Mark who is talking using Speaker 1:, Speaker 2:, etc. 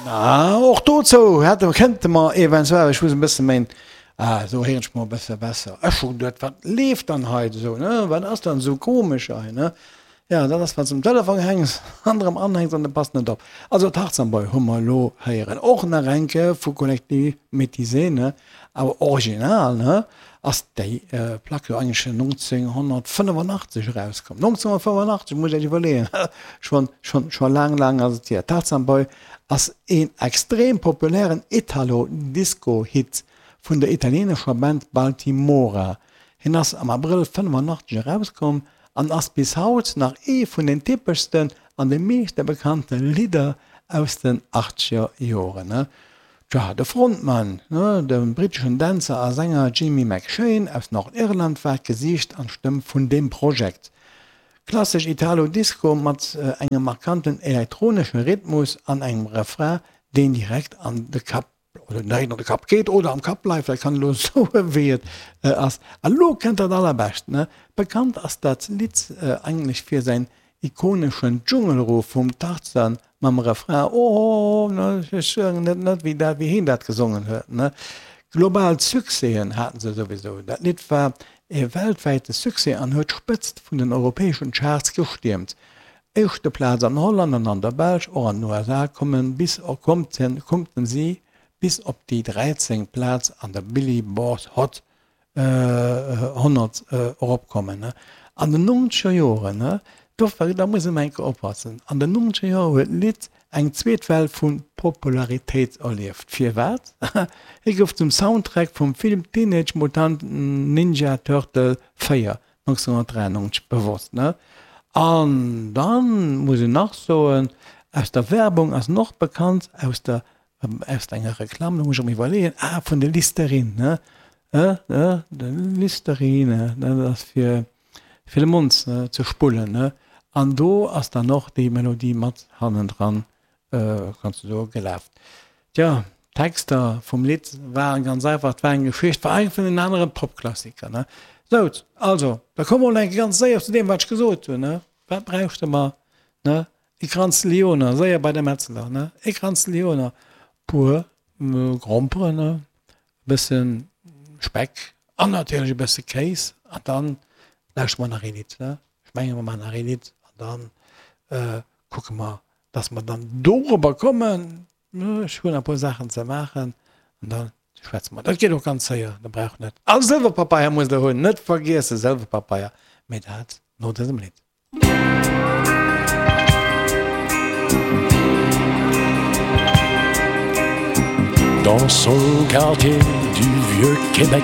Speaker 1: Na, och dozou hätte, kënnte mer eventuell, ech muss e bësse méin, ah, esou héieren ech mer e bësse besser. Ech hu geduet, wat leeft dann hei esou, ne, wat ass dann esou komesch hei, ne? Ja, dat ass, wann s de um Telefon hänks an erëm anhänks an de passt net op. Also Tarzan Boy hu mer elo héieren, och nach eng Kéier vu Collectif Métisé, ne, awer original, ne, ass déi Plack jo eigentlech 1985 erauskomm. 1985, musst Iech iwwerleeën, schonn, schonn, scho laang, laang ass et hier. Tarzan Boy ass een extrem populären Italo-Disco-Hit vun der italienescher Band Baltimora. Hien ass am Abrëll 85 erauskomm an ass bis haut nach ee vun den typeschsten an de meeschte bekannte Lidder aus den achtzeger Joren. Tja, de Frontmann, de britteschen Dänzer a Sänger Jimmy McShane aus Nordirland war d'Gesiicht an d'Stëmm vun deem Projekt. Klassesch Italo-Disco mat engem markanten elektronesche Rhythmus an engem Refrain, deen direkt an de Kapp oder direkt an de Kapp geet oder am Kapp bleift, dat kann elo soen, wéi et ass. A lo kënnt dat Allerbescht, ne? Bekannt ass dat Lidd eigentlech fir säin ikoneschen Dschungelruf vum Tarzan mam Refrain Oh, ne, ech soen et net, wéi dat, wéi heen dat gesongen huet, ne? Global Succèsen haten se souwisou. Dat Lidd war e weltwäite Succès an huet d'Spëtzt vun den europäeschen Charts gestiermt. Éischte Plaz an Holland an an der Belsch, och an den USA kommen bis konnten si bis op déi 13. Plaz an der Billyboard Hot 100 eropkommen. An den nonzeger Joren, do da muss een eng Kéier oppassen, an den nonzeger Joren huet d'Lidd eng zweet Well vu Popularitéit erlieft. Firwat? Hie gouf zum Soundtrack vum Film Teenage Mutant Ninja Turtle 4 1993 bewosst, ne? An dann muss een nach soen, aus der Werbung ass en och bekannt, aus der, aus enger Reklamm, do muss ech erëm iwwerleeën, ah vun de Listerine, ne? Ne, de Listerine, ne, dat ass fir, fir de Mond ze spullen, ne? An do ass dann och déi Melodie mat hannendran kanns du soen, gelaf. Tja, d'Texter vum Lidd waren ganz einfach, et war eng Geschicht, war eng vun den aneren Popklassiker, ne. Sou, also, da komme mer elo eng Kéier ganz séier zu deem, wat ech gesot hunn, ne. Wat bräuchte mer, ne? E Kranz Lyoner, séier bei de Metzler, ne? E Kranz Lyoner, puer Gromperen, ne? E bësse Speck an natierlech e bësse Kéis an dann lauschtere mer nach ee Lidd, ne? Ech menge mer maachen nach ee Lidd an dann kucke mer, dass mer dann dorobber kommen, ech hunn e puer Saachen ze maachen an da schwätze mer. Dat geet och ganz séier, der braucht net. A Sëlwerpapeier musst der hunn, net vergiessen, Sëlwerpapeier, mee dat no dësem Lidd.
Speaker 2: Dans son quartier du vieux Québec.